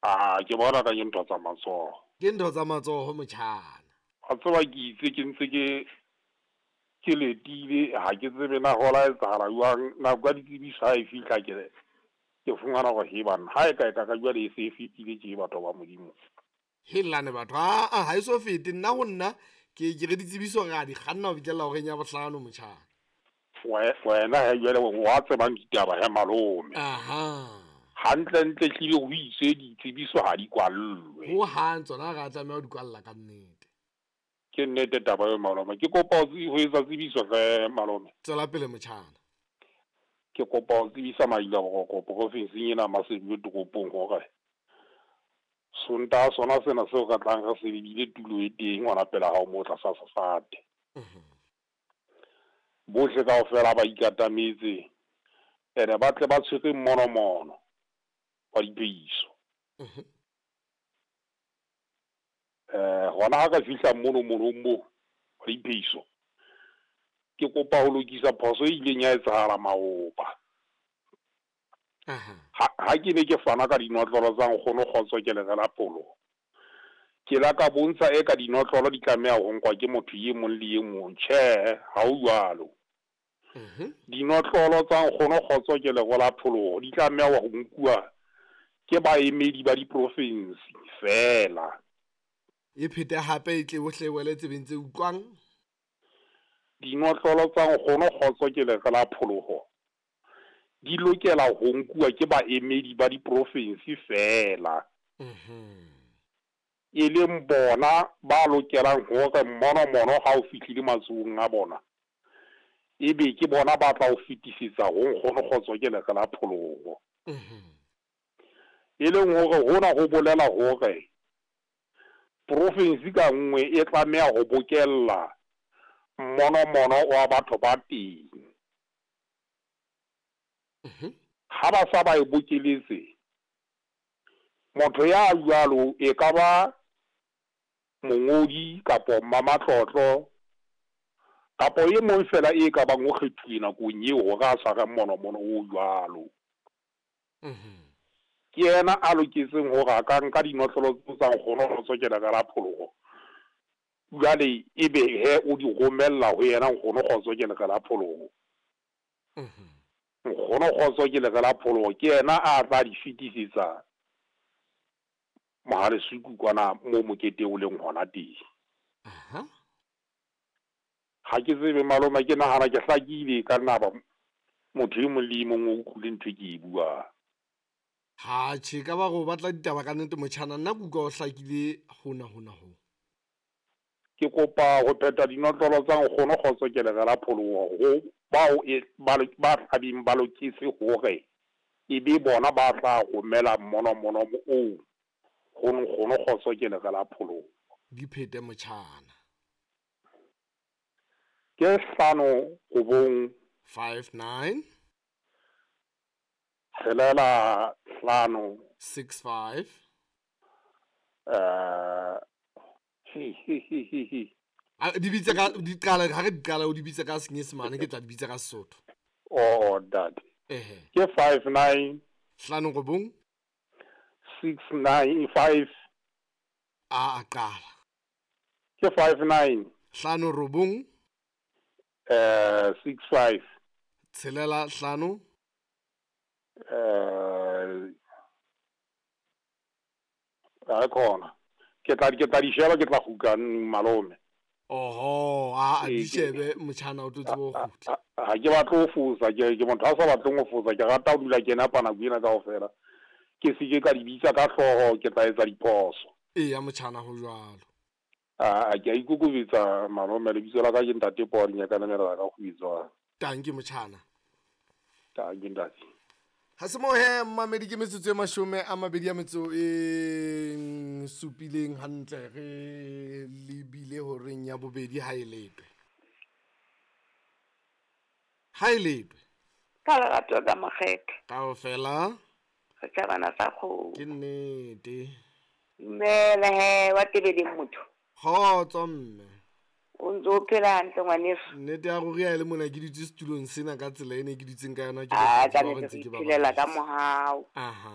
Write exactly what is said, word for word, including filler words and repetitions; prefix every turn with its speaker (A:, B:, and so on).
A: Ah, ke bona ka ke ntho tsa matsoho.
B: Ke ntho tsa matsoho motjhana.
A: A tseba ke itse ke ntse ke ke letile ha ke tsebe na ho la etsahala jwang nako ya ditsebiso ha e fihla ke ke fumana hore he banna ha e ka e ka ka jwale e se e fetile tje batho ba Modimo.
B: Helane batho a a ha e so fete nna ho nna ke ke re ditsebiso re a di kganna ho fihlella horeng ya bohlano motjhana.
A: Wena he jwale wa tsebang ditaba he malome.
B: Aha.
A: Hantle ntle hlile ho itswe ditsebiso ha di kwallwe.
B: Ho hang tsona re a tlameha ho di kwalla ka nnete.
A: Ke nnete taba eo malome. Ke kopa ho etsa tsebiso hle malome.
B: Tswela pele motjhana.
A: Ke kopa ho tsebisa Maila Boroko profinsing ena Maseru toropong hore Sontaha sona sena seo re tlang re se lebile tulo e teng hona pela hao moo tlasa sefate. Bohle kaofela ba ikatametse ene ba tle ba tshwere mmonomono wa dipeiso. Eh hona ha ka fihla mono monong moo wa dipeiso ke kopa ho lokisa phoso e ileng ya etsahala maoba.
B: Aha.
A: Ha ha ke ne ke fana ka dinotlolo tsa nkgono Kgotso ke le la pholo. Ke la ka bontsha e ka dinotlolo di tlameha ho nkwa ke motho e mong le e mong. Tjhe, ha ho jwalo.
B: Mhm.
A: Dinotlolo tsa nkgono Kgotso ke le la pholo di tlameha ho nkuwa ke baemedi ba diprofinsi fela.
B: E phete hape e tle bohle wele tsebeng tse utlwang.
A: Dinotlolo tsa nkgono Kgotso ke le la pholoho di lokela ho nkuwa ke baemedi ba diprofinsi fela.
B: Mhm.
A: E leng bona ba lokelang hore mmonomono ha o fihlile matsohong a bona ebe ke bona ba tla o fetisetsa ho nkgono Kgotso ke le la pholoho.
B: Mhm.
A: E leng hore hona ho bolela hore profinsi ka nngwe e tlameha ho bokella mmonomono wa batho ba teng.
B: Mhm.
A: Ha ba sa ba e bokeletse motho ya jwalo e ka ba mongodi kapo mmamatlotlo kapo e mong fela e ka bang o kgethuwe nakong eo hore a tshware mmonomono o jwalo.
B: Mhm.
A: Ke yena a loketseng hore a ka nka dinotlolo tseo tsa nkgono Kgotso ke le la pholoho. Jwale ebe he o di romella ho yena nkgono Kgotso ke le la pholoho.
B: Mhm.
A: Nkgono Kgotso ke le la pholoho ke yena a tla di fetisetsa Mohalesuku kwana moo mokete o leng hona teng.
B: Aha.
A: Ha ke tsebe malome ke nahana ke hlakile ka nna ba motho e mong le e mong o utlwile ntho e ke e buang.
B: Ha tjhe ka ba go batla ditaba ka nnete motjhana nna ke utlwa o hlakile hona hona ho.
A: Ke kopa ho phetha dinotlolo tsa nkgono Kgotso ke le la pholoho ho bao e ba ba tlabeng ba loketse hore e be bona ba tla romela mmonomono oo ho nkgono Kgotso ke le la pholoho.
B: Di phete motjhana.
A: Ke hlano robong
B: five nine
A: tshelela hlano
B: six five
A: eh he he he he he
B: A di bitse ka di qala ha re di qala o di bitse ka Senyesemane ke tla di bitsa ka Sesotho.
A: Oh ntate.
B: Ehe.
A: Ke five nine
B: Hlano robong
A: six nine five
B: a a qala.
A: Ke five nine
B: Hlano robong
A: eh six five
B: tshelela hlano
A: eh a khona ke tla ke tla di sheba ke tla kgutla malome.
B: Oho, a a
A: Ee,
B: di
A: ke-
B: shebe motjhana o tlo tsebe ho kgutla.
A: Ha ke batle ho fosa ke ke motho a sa batleng ho fosa ke rata ho dula ke napa nako ena kaofela. Ke se ke ka di bitsa ka hlooho ke tla etsa diphoso.
B: Eya motjhana ho jwalo.
A: A ke a ikokobetsa malome lebitso la ka ke ntate Paul Nyakana Merara ka kgubetswa.
B: Tanki motjhana.
A: Tanki ntate.
B: Ha se moo he mmamedi ke metsotso e mashome a mabedi a metso e supileng hantle re lebile horeng ya bobedi ha e letwe. Ha e letwe.
C: Ka lerato ka makgethe.
B: Kaofela.
C: Setjhabana sa kgomo.
B: Ke nnete.
C: Dumela he wa tebeleng motho.
B: Kgotso mme.
C: O ntse o phela hantle ngwaneso.
B: Nnete ya ruri ha e le mona ke dutse setulong sena ka tsela e ne ke dutseng ka yona ke
C: Ah,
B: batho
C: ka
B: ba
C: nnete
B: ntse
C: re
B: ke ba
C: iphelela ka
B: babadisa.
C: mohau.
B: Aha.